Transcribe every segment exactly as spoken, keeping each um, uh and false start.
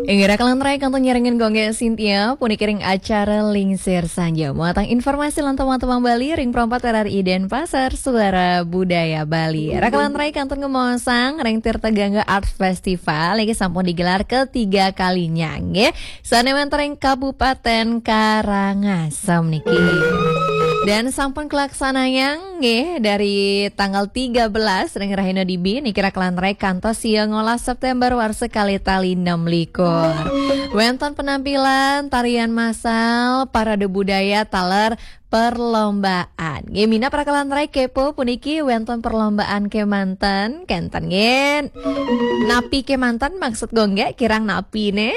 Inggih, raka lan rai kantun nyarengin Gung Gé Cynthia, puniki ring acara Lingsir Sanja. Muatan informasi lan teman-teman Bali ring Pro empat R R I Denpasar, Suara Budaya Bali. Raka lan rai kantun ngemaosang ring Tirta Gangga Art Festival, niki sampun digelar ketiga kalinya, nggih. Sané wénten ring Kabupaten Karangasem niki. Dan sampun kalaksanayang nggih, dari tanggal tiga belas ring rahina Dibi niki raka lan rai kantos sia ngolas September warsa kalih tali enam likur. Wénten penampilan tarian massal, parade budaya taler perlombaan. Nggih, minab raka lan rai kepo puniki wénten perlombaan kémanten, kénten nggih. Napi kémanten maksud Gung Gé, kirang napi né.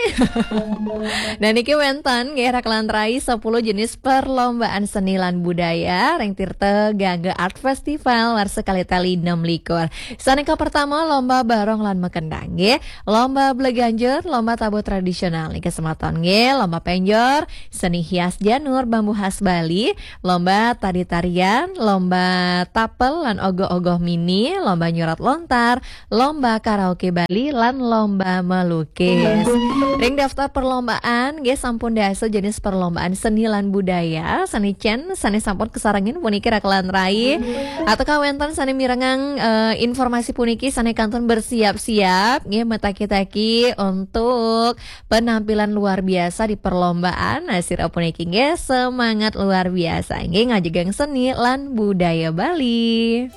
Dan niki wénten nggih raka lan rai sepuluh jenis perlombaan seni lan budaya ring Tirta Gangga Art Festival warsa kalih tali enam likur. Sané kapertama lomba barong lan makendang nggih, lomba bleganjur, lomba tabuh tradisional niki semeton nggih, lomba penjor, seni hias janur bambu khas Bali, lomba tari-tarian, lomba tapel lan ogoh-ogoh mini, lomba nyurat lontar, lomba karaoke Bali, lan lomba melukis. Ring daftar perlombaan nggih sampun dasa jenis perlombaan seni lan budaya, sané cén, sané sampun kasarengin puniki raka lan rai. Atawa wénten sané mirengang eh, informasi puniki sané kantun bersiap-siap nggih, mataki-taki untuk penampilan luar biasa di perlombaan. Nah, sira puniki nggih semangat luar biasa nggih ngajegang seni lan budaya Bali.